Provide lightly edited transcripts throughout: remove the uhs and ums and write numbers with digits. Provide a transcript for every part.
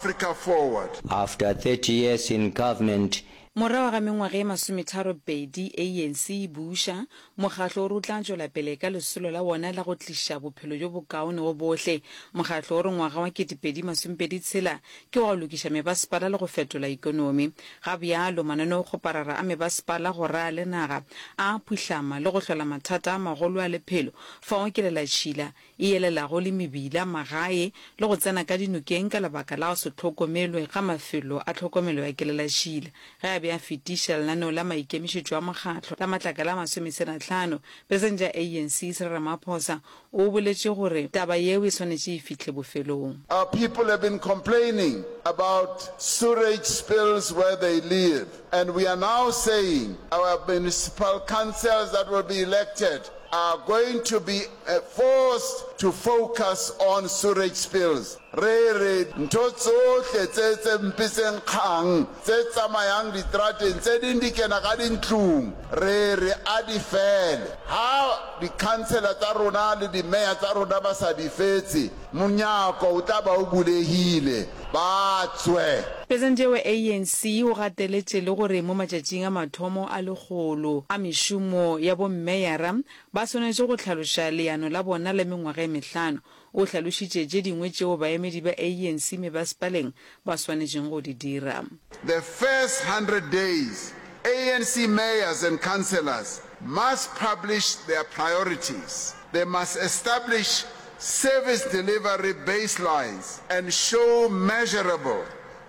Africa forward. After 30 years in government, Morago ga mengwaga e masometharopedi ANC e buša, mokgatlo o re o tla tšwela pele ka lesolo la wona la go tliša bophelo bjo bokaone go bohle. Mokgatlo o re ngwaga wa 2026 ke wa go lokiša mebasepala le go fetola ikonomi. Ga bjalo, mananeokgoparara a mebasepala go raya le naga a a phuhlama le go hlola mathata a magolo a lephelo fao kelelatšhila e elelago le mebila, magae le go tsena ka dinokeng ka lebaka la go se hlokomelwe ga mafelo a tlhokomelo ya kelelatšhila. Ge a be a fetiša lenaneo la maikemišetšo a mokgatlo la matlakala a masometselahlano, Presidente ya ANC Cyril Ramaphosa o boletše gore taba yeo e swanetše e fihle bofelong. Our people have been complaining about sewerage spills where they live and we are now saying our municipal councils that will be elected are going to be forced to focus on sewerage spills. Re re ntho tsohle tse tse mpe tse nkgang tse tsamayang diterateng tse ding di kena ka dintlong re re a di fele. Ha di-councillor tsa rona le di-mayor tsa rona ba sa di fetse monyako o tla ba o bulehile ba tswe. Presidente wa ANC o gateletše le gore mo matšatšing a mathomo a lekgolo a mešomo ya bommeyara ba swanetše go hlaloša leano la bona la mengwaga e mehlano. O hlalošitše tše dingwe tšeo baemedi ba ANC mebasepaleng ba swanetšeng go di dira. The first 100 days, ANC mayors and councillors must publish their priorities. They must establish service delivery baselines and show measurable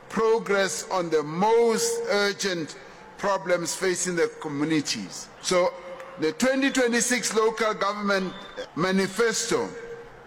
progress on the most urgent problems facing the communities. So, the 2026 Local Government Manifesto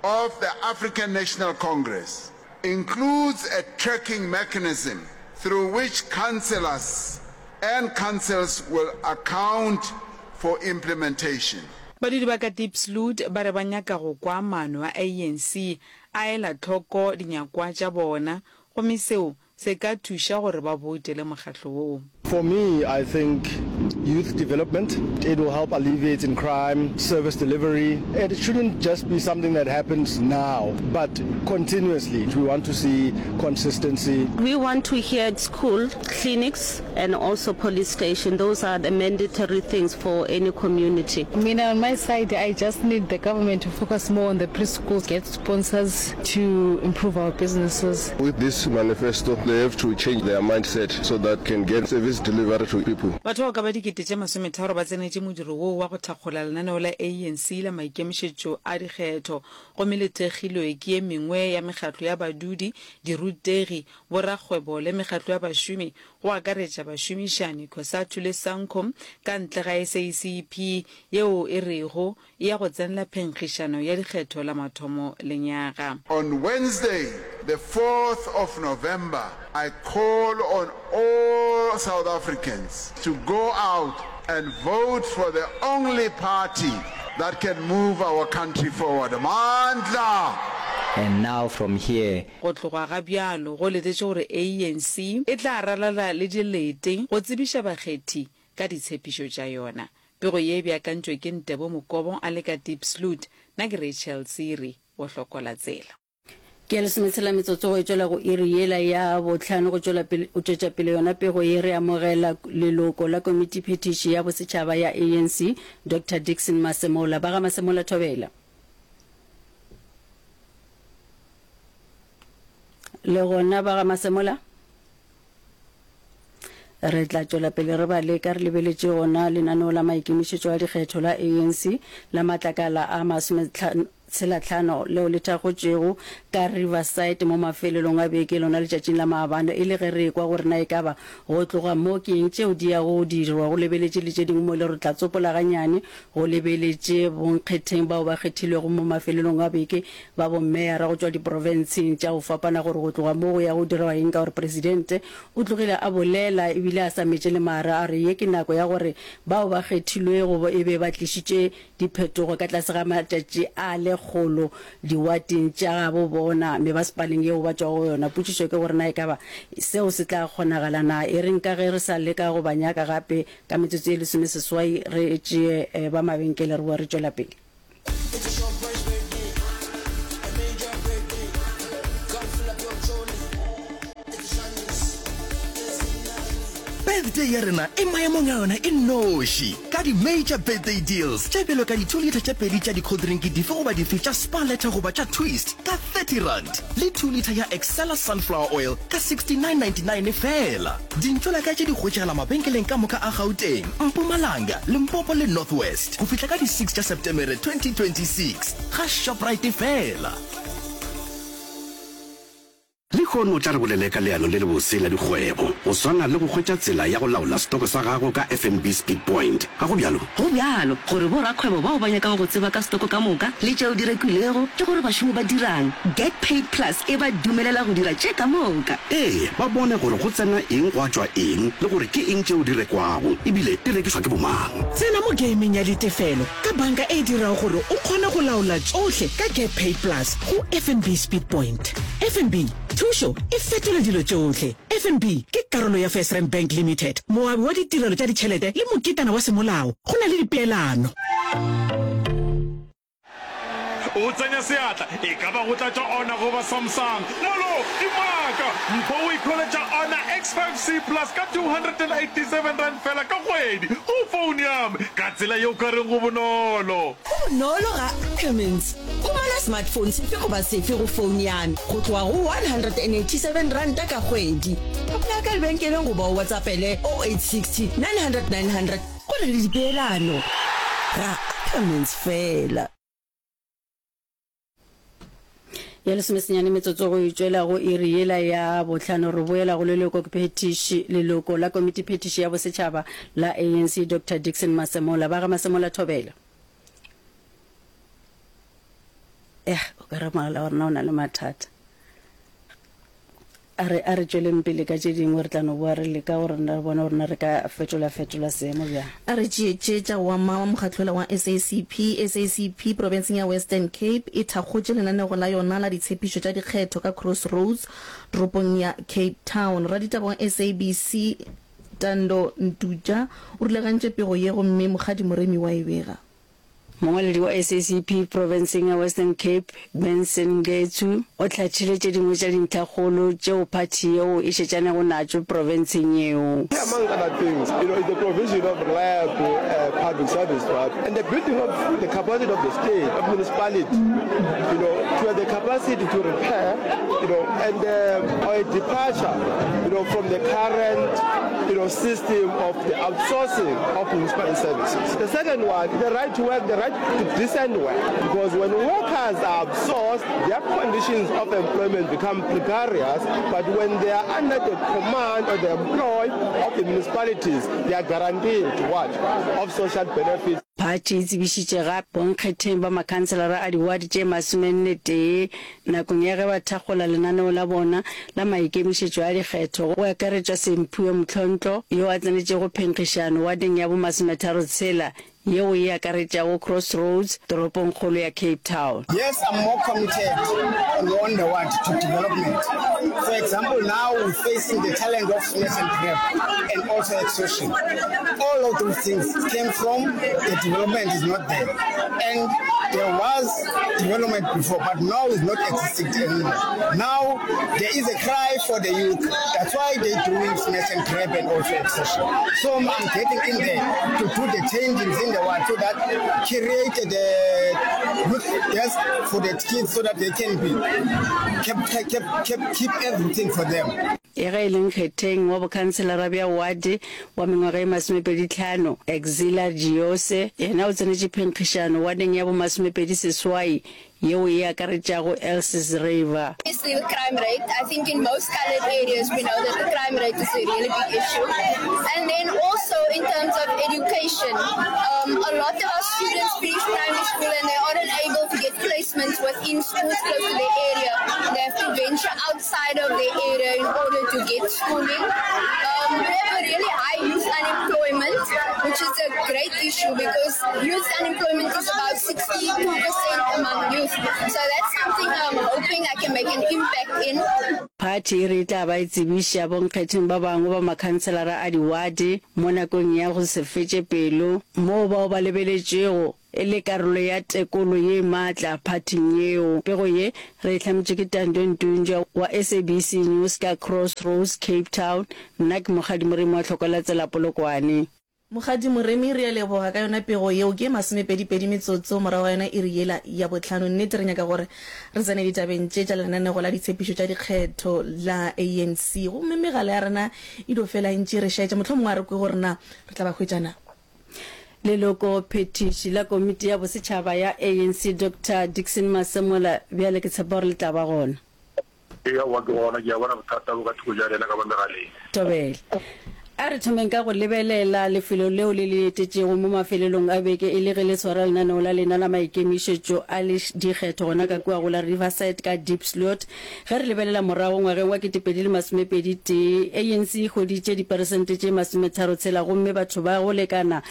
of the African National Congress includes a tracking mechanism through which councillors and councils will account for implementation. Badudi ba ka Diepsloot ba re ba nyaka go kwa maano a ANC a ela hloko dinyakwa tša bona gomme seo se ka thuša gore ba boutele mokgatlo woo. For me, I think youth development, it will help alleviate in crime, service delivery. It shouldn't just be something that happens now, but continuously. We want to see consistency. We want to hear school, clinics and also police station. Those are the mandatory things for any community. Mina on my side I just need the government to focus more on the preschools, get sponsors to improve our businesses. With this manifesto they have to change their mindset so that can get service delivery to people. Batho bao ka ba dikete tše masometharo ba tsenetše modiro woo wa go thakgola lenaneo la ANC la maikemišetšo a dikgetho gomme le thekgilwe ke ye mengwe ya mekgatlo ya badudi, dirutegi, borakgwebo le mekgatlo ya bašomi go akaretša bašomišani, Cosatu le Sanco, ka ntle ga SACP yeo e rego e ya go tsenela phenkgišano ya dikgetho la mathomo lenyaga. On Wednesday, the 4th of November, I call on all South Africans to go out and vote for the only party that can move our country forward. Amandla! And now from here, Go tloga ga bjalo go letetše gore ANC e tla ralala le dilete go tsebiša bakgethi ka ditshepišo tša yona. Pego ye e beakantšwe ke Ntebo Mokobo a le ka Diepsloot, nna ke Rachel Tsiri wo Hlokola Tsela. Ke ya lesometshela metsotso go e tšwela go iri yela ya bohlano go tšwela pele go tšwetša pele yona pego ye re amogela leloko la komitiphethiši ya bosetšhaba ya ANC Doctor Dickson Masemola. Ba ga Masemola thobela. Le gona ba ga Masemola? Re tla tšwela pele re ba leka re lebeletše gona lenaneo la maikemišetšo a dikgetho la ANC la matlakala a masometshelahlano leo le thakgotšwego ka Riverside mo mafelelong a beke lona letšatšing la maabane e le ge re ekwa gore na ekaba go tloga mo ke eng tšeo di yago go dirwa go lebeletše le tše dingwe mo e le gore tla tsopola ganyane go lebeletše bonkgetheng bao ba kgethilwego mo mafelelong a beke ba bommeyara go tšwa diprofenseng tša go fapana gore go tloga mo go ya go dirwa eng ka gore presidente o tlogile a bolela ebile a sa metše le mare a re ye ke nako ya gore bao ba kgethilwego e be ba tlišitše diphetogo ka tlase ga matšatši a lekgolo diwateng tša gabo bona mebasepaleng yeo ba tšwago go yona. Potšišo ke gore na ekaba seo se tla kgonagala na? E reng ka ge re sa leka go ba nyaka gape ka metsotso ye lesomeseswai re tšee ba mabenkele re boe re tšwela pele. Birthday ya rena e maemong a yona e nnoši ka di-major birthday deals tše bjalo ka di-two litre tše pedi tša di-cold drink dife goba dife tša Spar Letter goba tša Twist ka R30 le two litre ya Excella Sunflower Oil ka R69.99 feela. Dintšolaka tše di hwetšagala mabenkeleng ka moka a Gauteng, Mpumalanga, Limpopo le North West go fihla ka di six tša Setemere 2026 ga Shoprite feela. Lehono tla re bolele ka leano le lebose la dikgwebo, go swana le go hwetša tsela ya go laola setoko sa gago ka FNB Speedpoint. Ga go bjalo? Go bjalo gore borakgwebo bao ba nyakago go tseba ka setoko ka moka le tšeo di rekwilego le gore bašomi ba dirang, Get Paid Plus e ba dumelela go dira tše ka moka. Ee, ba bone gore go tsena eng gwa tšwa eng le gore ke eng tšeo di rekwago e bile di rekišwa ke bomang. Tsena mo gameng ya ditefelo ka banka e dirago gore o kgone go laola tšohle ka Get Paid Plus go FNB Speedpoint. FNB, thušo e fetola dilo tšohle. FNB ke karolo ya FirstRand Bank Limited, moabi wa ditirelo tša ditšhelete le moketana wa semolao. Go na le dipeelano. O tsenya seatla, e ka ba go tlatša Honor goba Samsung. Molo, dimaka! Mpho o ikhweletša Honor X5C Plus ka R287 feela ka kgwedi go phone ya me, ka tsela ye o ka reng go bonolo. Go bonolo ga Cummins. Humana smartphone sefe goba sefe go phone ya me go tloga go R187 ka kgwedi. Apply ka lebenkeleng goba o WhatsAppele 0860 900 900. Go na le dipeelano. Ga Ackermans fela. Ya lesomesenyane metsotso go e tšwela go iri yela ya bohlano re boela go leloko phethiši leloko la komiti phethiši ya bosetšhaba la ANC Doctor Dickson Masemola. Ba ga Masemola thobela. Eh, o ka re mogala wa rena o na le mathata. A re, a re tšweleng pele ka tše dingwe, re tla no boa re leka gore re bone gore na re ka fetola-fetola seemo bjang. A re tšee tše tša go ama wa mokgatlola wa SACP. SACP profenseng ya Western Cape e thakgotše lenanego la yona la ditshepišo tša dikgetho ka Crossroads toropong ya Cape Town. Raditaba wa SABC Tando Ntutja o rulagantše pego ye gomme Mokgadi Moremi wa e bega. Mongwaledi wa SACP profenseng ya Western Cape, Benson Ngetsu, o hlathile tše dingwe tša dintlhakgolo tšeo phathi yeo e šetšanego natšo profenseng yeo. Among other things, you know, is the provision of reliable public service, right, and the building of the capacity of the state, of municipality, you know, to have the capacity to repair, you know, and uh, or a departure, you know, from the current, you know, system of the outsourcing of municipal services. The second one is the right to work, the right to decent work, because when workers are outsourced, their conditions of employment become precarious, but when they are under the command or the employ of the municipalities, they are guaranteed what? Of social benefits. Phathi e tsebišitše gape bonkgetheng ba makhanselara a diwate tše masomennetee nakong ya ge ba thakgola lenaneo la bona la maikemišetšo a dikgetho go akaretšwa Semphiwe Mhlontlo yo a tsenetšego phenkgišano wadeng ya bomasometharotshela yeo e akaretšago Crossroads toropongkgolo ya Cape Town. Yes, I'm more committed on on the ward to development. For example, now we're facing the challenge of smash and grab and also extortion. All of those things came from the development is not there. And there was development before, but now it's not existing anymore. Now there is a cry for the youth. That's why they're doing smash and grab and also extortion. So I'm getting in there to do the changes in the world so that create the youth desk for the kids so that they can be kept, kept, kept, keep everything for them. E ge e le nkgetheng wa bokhanselara bja wate wa mengwaga e masomepeditlhano, Exila Jiyose, yena o tsenetše phenkgišano wadeng ya bomasomepedi seswai yeo e akaretšago Elsies River. Obviously the crime rate, I think in most coloured areas we know that the crime rate is a really big issue. And then also in terms of education, um, a lot of our students finish primary school and they aren't able to get placements within schools close to their area. They have to venture outside of their area in order to get schooling. Um, we have a really high youth unemployment, which is a great issue because youth unemployment is about 62% among youth. So that's something I'm hoping I can make an impact in. Phathi e re e tla ba e tsebiša bonkgetheng ba bangwe ba makhanselara a diwate mo nakong ya go se fetše pelo moo bao ba lebeletšwego. e le karolo ya tekolo ye maatla phathing yeo. Pego ye re e hlametšwe ke Tando Ntunjwa wa SABC News ka Crossroads, Cape Town. Nna ke Mokgadi Moremi wa Tlhokola-Tsela Polokwane. Mokgadi Moremi, re a leboga ka yona pego yeo. Ke masomepedipedi metsotso morago ga yona iri yela ya bohlano. Nnete re nyaka gore re tsene ditabeng tše tša lenanego la ditshepišo tša dikgetho la ANC. Gomme megala ya rena e dio fela e ntše e re šaetša. Mohlomongwe a re kwe gore na re tla ba hwetša na. Leloko phethiši la komiti ya bosetšhaba ya ANC Doctor Dickson Masemola bjale ke tshepa gore le tla ba gona. Ee, aowa ke gona, ke a bona bothata bo ka thoko bja rena ka ba megaleng. Thobela. A re thomeng ka go lebelela lefelo leo le le etetšego mo mafelelong a beke e le ge le swara lenaneo la lena la maikemišetšo a dikgetho gona ka kua go la Riverside ka Diepsloot. Ge re lebelela morago ngwageng wa 2021, ANC e hweditše diperesente tše masometharotshela gomme batho ba go lekana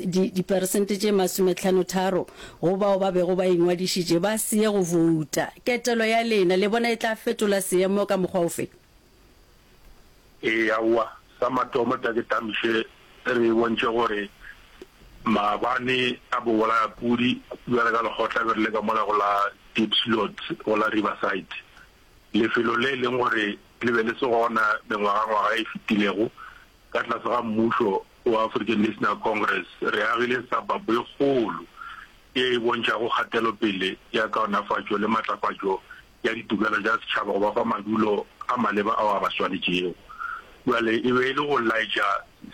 diperesente tše masometlhanotharo go bao ba bego ba ingwadišitše ba se ye go bouta. Ketelo ya lena le bona e tla fetola seemo ka mokgwa ofe? Ee, aowa. Sa mathomo tla ke tamiše re bontšhe gore maabane a bobolayapudi bjale ka lekgotla be re le ka mola go la Diepsloot go la Riverside, lefelo le e leng gore le be le se gona mengwagangwaga e fetilego. Ka tlase ga mmušo wa African National Congress re agile suburb e kgolo ye e bontšhago kgatelopele ya kaonafatšo le matlafatšo ya ditokelo tša setšhaba go ba fa madulo a maleba ao a ba swanetšego. Bjale e be e le go laetša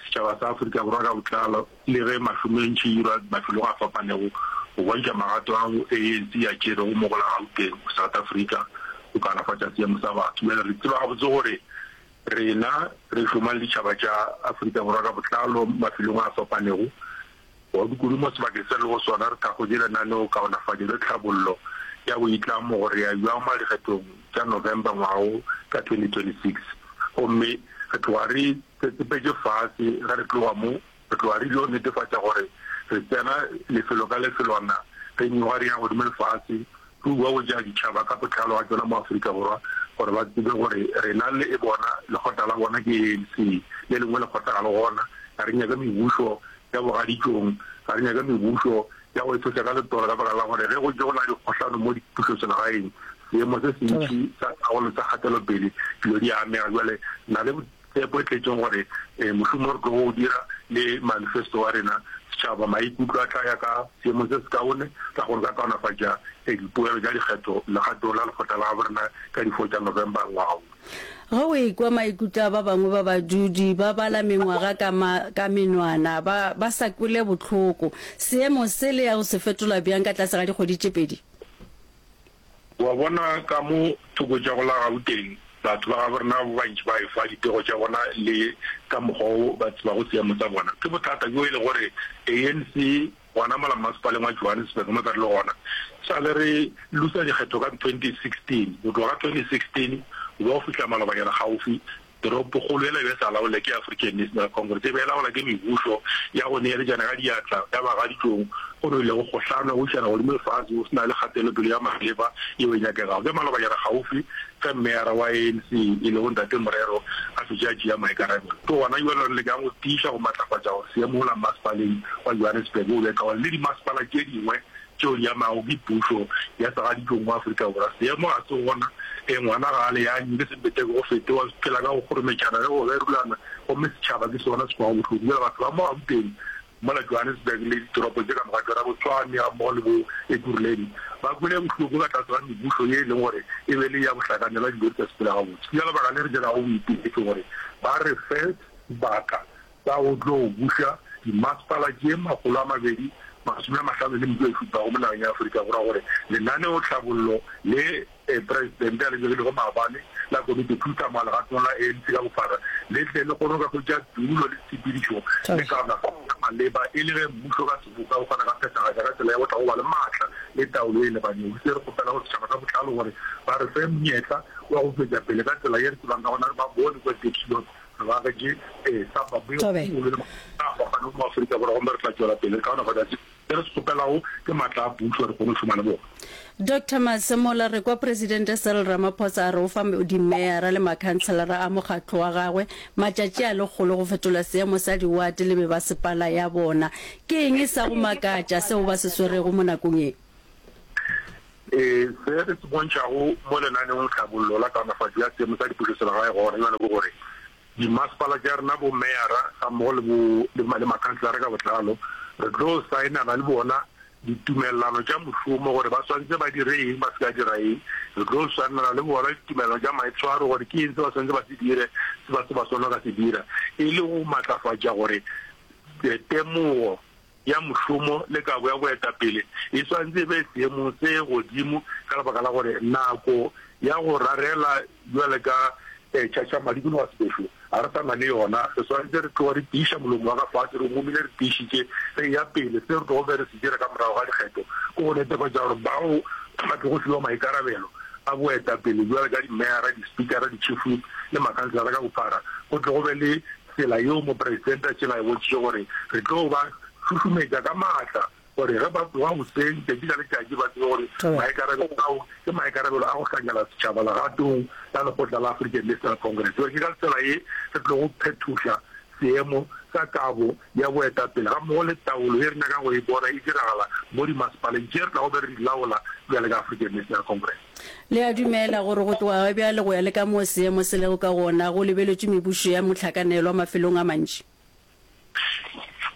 setšhaba sa Afrika Borwa ka botlalo le ge mašomentši irwa mafelong a fapanego go bontšha magato ao ANC e a tšerego mo go la Gauteng, South Africa, go kaonafatša seemo sa batho. Bjale re tseba gabotse gore rena re šoma le ditšhaba tša Afrika Borwa ka botlalo mafelong a fapanego. Kudu-kudu mo sebakeng se re lego sona, re thakgotše lenaneokaonafatšo le tlhabollo ya boitlamo gore ya bjang mo dikgethong tša November ngwaga wo ka 2026. Gomme re tloga re tsetsepetše fase ge re tloga mo, re tloga re ilo netefatša gore re tsena lefelo ka lefelwana, re nyoga re ya godimo le fase, re bua go tša ditšhaba ka botlalo ga tšona mo Afrika Borwa gore ba tsebe gore rena le bona lekgotla la bona ke ANC, le lengwe lekgotla ga le gona. Ga re nyake mebušo ya bogaditšong, ga re nyake mebušo ya go itshoša ka letolo ka baka la gore ge go tše go na le dikgohlano mo dipušoselegaeng, seemo se sentši sa taolo sa kgatelopele dilo di a amega. Bjale na le tshepo e tletšeng gore mošomo o re tlogo o dira le manifesto wa rena, setšhaba maikutlo a tla ya ka seemong se sekaone sa gore ka kaonafatša dipoelo tša dikgetho legatong la lekgotla la gabo rena ka di 4 tša November ngwaga wo. Ge o ekwa maikutlo a ba bangwe ba badudi ba bala mengwaga ka ma, ka menwana, ba, ba sa kwele bohloko. Seemo se le ya go se fetola bjang ka tlase ga dikgwedi tše pedi? Wa bona ka mo thoko tša go la Gauteng, batho ba gabo rena ba bantši ba efa dipego tša bona le ka mokgwa wo ba tsebago seemo sa bona. Ke bothata bjo e le gore ANC gona mola mmasepaleng wa Johannesburg mo ka re le gona, sa le re lusa dikgetho ka 2016, go tloga ka 2016 go ba go fihla malobanyana kgaufi, Toropokgolo yela e be e sa laolwe ke African National Congress, e be e laolwa ke mebušo ya go neeletšana ka diatla ya bagaditšong, go no ilego kgohlano, go išana godimo le fase, go se na le kgatelopele ya maleba yeo e nyakegago. Ke malobanyana kgaufi ge meyara wa ANC e lego Ntate Morero a fetše a tšea maikarabelo. Ke gona bjalo re lekang go tiiša go matlafatša gore seemo mola mmasepaleng wa Johannesburg o be kaone le dimasepala tše dingwe tšeo di amago ke pušo ya segaditšong mo Afrika Borwa. Seemo ga se gona, e ngwana ga a leanywe, ke sempeteke go fete, wa phela ka go kgorometšana le go gerulana, gomme setšhaba ke sona se kwago bohloko. Bjale batho ba mo Gauteng, mola Johannesburg le ditoropo tše ka moka tšona, bo Tshwane gammogo le bo Ekurhuleni, ba kwele bohloko ka tlase ga mebušo ye e leng gore e be le ya bohlakanelwa dilo di sa sepele gabotse. Ke ka lebaka le re dirago boipiletšo gore ba re fe sebaka sa go tlo buša dimasepala tše 255 mo nageng ya Afrika Borwa gore lenaneotlhabollo le Presidente a le begilego maabane la Komiti Khuduthamaga legatong la ANC ka bophara le tle le kgone go ka hwetša tulo le tshepedišo le kaonafatšo ya maleba e le ge mmušo ka seboka o kgona ka phethagatša ka tsela ya go tla go ba le maatla le taolo ye e lebanego. Se re kgopela go setšhaba ka botlalo gore ba re fe monyetla wa go tšwetša pele ka tsela ye re tsebang ka gona re ba bone kua Diepsloot Re agetše suburb ye Thobela. kgolo le a fapanego mo Afrika Borwa gomme re tla tšwela pele re kaonafatša. Se re se kgopelago ke maatla a pušo re kgone go šoma le bona. Doctor Masemola, Re kwa Presidente Cyril Ramaphosa a re o fa dimeyara le makhanselara a mokgatlo wa gagwe matšatši a lekgolo go fetola seemo sa diwate le mebasepala ya bona. Ke eng sa go makatša seo ba se swerego mo nakong ye? Ee, se re se bontšhago mo lenaneongtlhabollo la kaonafatšo ya seemo sa dipušoselegae gona bjale ke gore dimasepala tša rena, bomeyara gammogo le bo le makhanselara ka botlalo, re tlo saenana le bona ditumellano tša mošomo gore ba swanetše ba dire eng, ba se ka dira eng. Re tlo saenana le bona ditumellano tša maitshwaro gore ke eng se ba swanetše ba se dire, se ba se ba swanela ka se dira, e le go matlafatša gore temogo ya mošomo le kabo ya boetapele e swanetše e be seemong se godimo ka lebaka la gore nako ya go rarela bjale ka tšhatšhamadi kudu ga sebešo ga re sa na le yona. Re swanetše re tloga re tiiša molomo wa ka fase, re ngomile re tiišitše re eya pele. Se re tlogo be re se dira ka morago ga dikgetho ke go netefatša gore bao ba tlogo fiwa maikarabelo a boetapele bjale ka dimeyara, dispikara, di-chief whip le makhanselara ka bophara go tle go be le Tsela yeo Mopresidente a šetšeng a e bontšhitše gore re tlo ba šušumetša ka maatla gore ge ba tsoga goseng tšatši ka letšatši ba tsebe gore maikarabelo ao ke maikarabelo a go hlankela setšhaba legatong la lekgotla la African National Congress. Gore ke ka tsela ye re tlogo phethoša seemo sa kabo ya boetapele gammogo le taolo ye re nyakang go e bona e diragala mo dimasepaleng tše re tlago be re di laola bjale ka African National Congress. Le a dumela gore go tloga ga bjale go ya le ka moo seemo se lego ka gona, go lebeletšwe mebušo ya mohlakanelwa mafelong a mantši?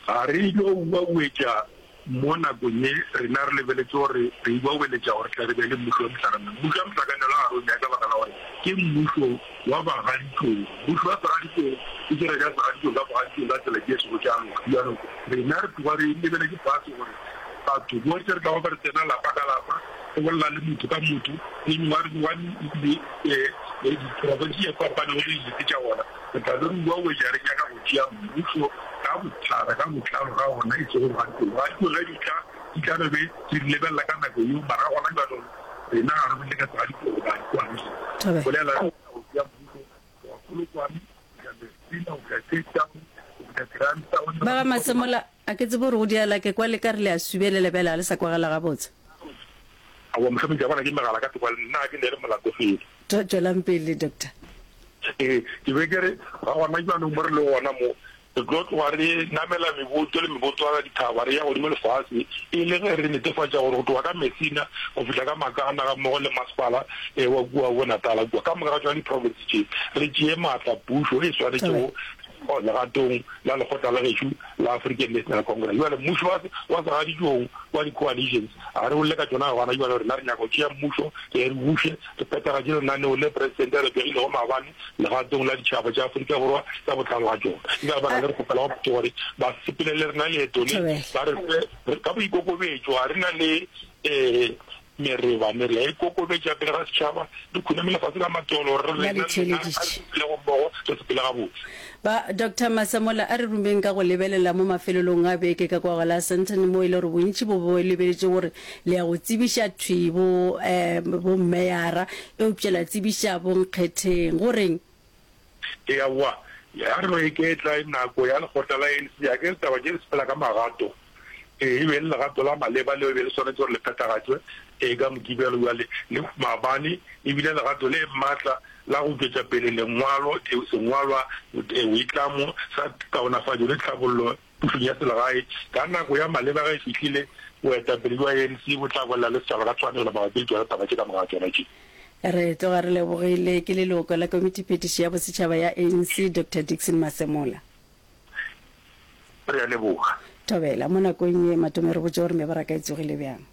Ga re yo uauetša mo nakong ye, rena re lebeletše gore re uaueletša gore tle re be le mmušo wa mohlakanelwa. Mmušo wa mohlakanelwa ga re o nyake ka baka la gore ke mmušo wa bagaditšong. Mmušo wa segaditšong o dira tša segaditšong ka bogaditšong ka tsela tše sego tša loka. Bjalo rena re tloga re lebeletše fase gore batho bohle re tlago be re tsena lapa ka lapa, re bolela le motho ka motho, le mengwaga le diprofense tše fapanego le dilete tša gona, re tla be re uauetša re nyaka go tšea mmušo ka bophara, ka botlalo ga gona, e sego bogaditšong. Bogaditšong ge di tla, di tla be be re di lebelela ka nako yeo, mara gona bjalo rena ga re bolele ka segaditšong goba dikoalition. Bolela re nyaka go tšea mmušo go tloga Polokwane, go fihla Messina, go fihla Cape Town, go fihla Grahamstown. Ba ga Masemola, A ke tsebe gore go diala, ke kwa le ka re le a subelela bjale ga le sa kwagala gabotse. Aowa mohlomong ke a bona ke megala ka thoko, nna ga ke neele molato felo. Tšwelang pele, Doctor. Ee, ke be ke re ga gona bjanong mo re lego gona mo, re tlo tloga re namela meboto le mebotwana ya dithaba re ya godimo le fase e le ge re netefatša gore go tloga ka Messina go fihla ka Makana gammogo le masepala wa kua bo Natala kua, ka moka ga tšona diprofense tše re tšee maatla pušo e swanetšego legatong la lekgotla la gešo la African National Congress. Bjale mmušo wa, wa segaditšong wa di-coalitions, ga re bolele ka tšona gona bjale, rena re nyaka go tšea mmušo, re re buše, re phethagatše lenaneo le Presidente a le begilego maabane legatong la ditšhaba tša Afrika Borwa ka botlalo ga tšona. Ke ka lebaka le re kgopelago batho gore ba sepele le rena leeto le, ba re fe ka boikokobetšo, ga re na le um Mereba, re a ikokobetša pele ga setšhaba, re khunamela fase ka matolo gore re Ba rena le le lena, a re theeleditše. sepelego mmogo, re sepele gabotse. Ba, Doctor Masemola, a re rumeng ka go lebelela mo mafelelong a beke ka kwa go la Sandton mo e le gore bontši bo bo lebeletše gore le ya go tsebiša thwi bo, eh, bommeyara, eupša la tsebiša bonkgetheng. Go reng? Ee, aowa, ga re no iketla, nako ya lekgotla la ANC, a ke re taba tše di sepela ka magato. Ee, e be e le legato la maleba leo e be le swanetše gore le phethagatšwe ee ka Mokibelo. Bjale le maabane e bile legato le matla la go tšwetša pele lengwalo, sengwalwa, boitlamo sa kaonafatšo le tlhabollo pušong ya selegae. Ka nako ya maleba ge e fihlile, boetapele bja ANC bo tla bolela le setšhaba ka tshwanelo mabapi le tšona taba tše ka moka ga tšona tše. Re tloga re lebogile ke leloko la Komitiphethiši ya Bosetšhaba ya ANC, Doctor Dickson Masemola. Re a leboga. Thobela, mo nakong ye, Matome re botše gore mebaraka e tsogile bjang.